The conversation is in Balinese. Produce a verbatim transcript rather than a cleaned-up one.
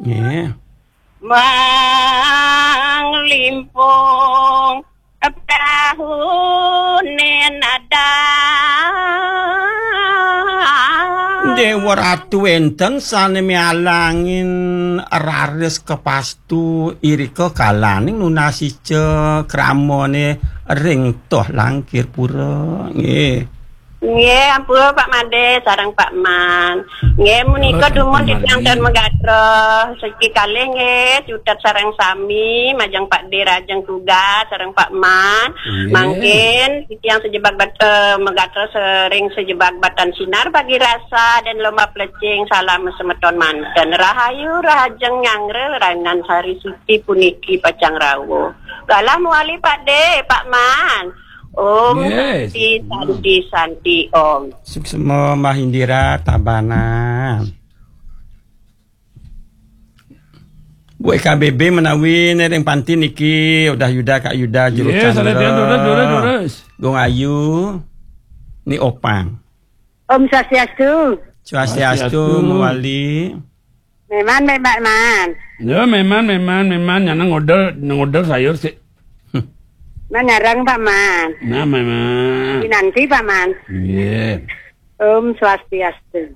Nggih. Manglimpung prahune nadang. Dewa Ratu, enten sane mialangin raris kepastu irika kalaning nunasica kramane ring toh Langkirpura. Nggih. Nggih, ampun Pak Made sareng Pak Man. Nggih, menika dumun titiang ten megatra. Siki kalih nggih, cutet sareng sami, majeng Pak De Rajeng Tugas sareng Pak Man. Nggih. Mangkin titiang sejebag bat-, eh, megatra sering sejebag batan sinar bagi rasa dan lomba plecing. Salam semeton manten. Rahayu, rahajeng nyanggra, rainan sari suci puniki pacang rawuh. Galah mewali Pak De, Pak Man. Om Yes. Santi, Santi, Santi, Om. Suksma Mbah Indira Tabanan. Bu E K B B menawi ring panti niki udah Yuda Kak Yuda juru Yes, chandra. Ada dia, terus, terus, terus. Gung Ayu ni Opang. Om Swastiastu. Swastiastu. Swastiastu. Mewali. Memang, memang, man. Ya, memang, memang, memang. Nyana ngodel, ngodel sayur sih. Manarang, Pak Man. Nah, memang. Dinanti, Pak Man. Iya. Om Swastiastu.